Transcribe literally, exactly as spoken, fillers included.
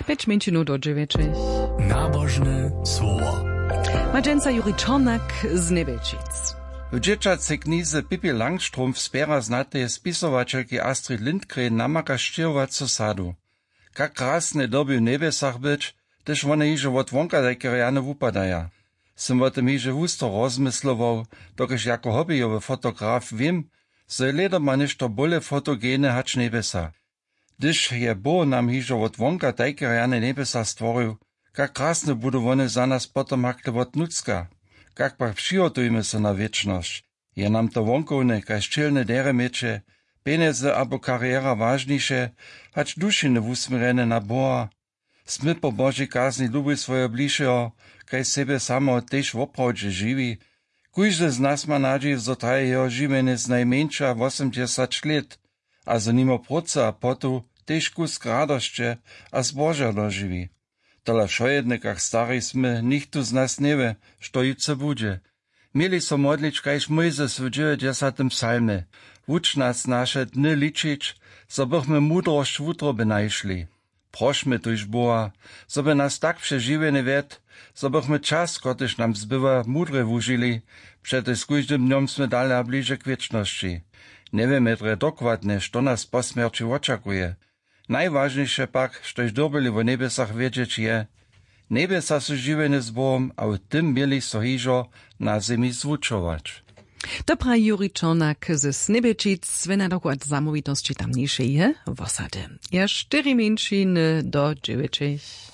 Pjeć mjeńšinow do dźewjećich. Nabožne słowo. Ma dźensa Juri Čornak z Njebječic. W dźěćacej knize Pippi Langstrump spjera znateje spisowaćelki Astrid Lindgren namaka sćěhowacu sadu. Kak krasne dyrbi w njebjesach być, hdyž wone hižo wot wonka tajke rjane wupadaja. Sym wo tym hižo husto rozmyslował, dokelž jako hobbyjowy fotograf wěm, zo je lědoma něšto bóle fotogene hač njebjesa. Hdyž je Bóh nam hižo wot wonka tajke rjane njebjesa stworił, kak krasne budu wone za nas potom hakle wot nutřka. Kak pak přihotujmy so na wěčnosć? Je nam to wonkowne kaž ćělne derje měće, pjenjezy abo kariera wažniše, hač dušiny wusměrjene na Boha? Smy po Božej kazni lubić swojeho blišeho kaž sebje sameho tež woprawdźe žiwi? Kóždy z nas ma nadźiw, zo traje jeho žiwjenje znajmjeńša wosomdźesać lět a zo nimo prócy a potu tež kusk radosće a zboža dožiwi. Tola wšojedne kak stari smy, nichtó z nas njewě, što jutře budźe. Měli so modlić kaž Mójzes w dźewjećdźesatym psalmje: Wuč nas naše dny ličić, zo bychmy mudrosć wutroby našli. Prošmy tuž Boha, zo by nas tak přez žiwjenje wjedł, zo bychmy čas, kotryž nam zbywa, mudrje wužili, přetož z kóždym dnjom smy dale a bliže k wěčnosći. Njewěmy drje dokładnje, što nas po smjerći wočakuje. Najwažniše pak, štož dyrbyli wo njebjesach wědźeć, je: Njebjesa su žiwjenje z Bohom a w tym měli so hižo na zemi zwučować. To praji Juri Čornak ze Snebječic, wjena dokład zamołwitosći tamnišeje wosady. Je štyri mjeńšiny do dźewjećich.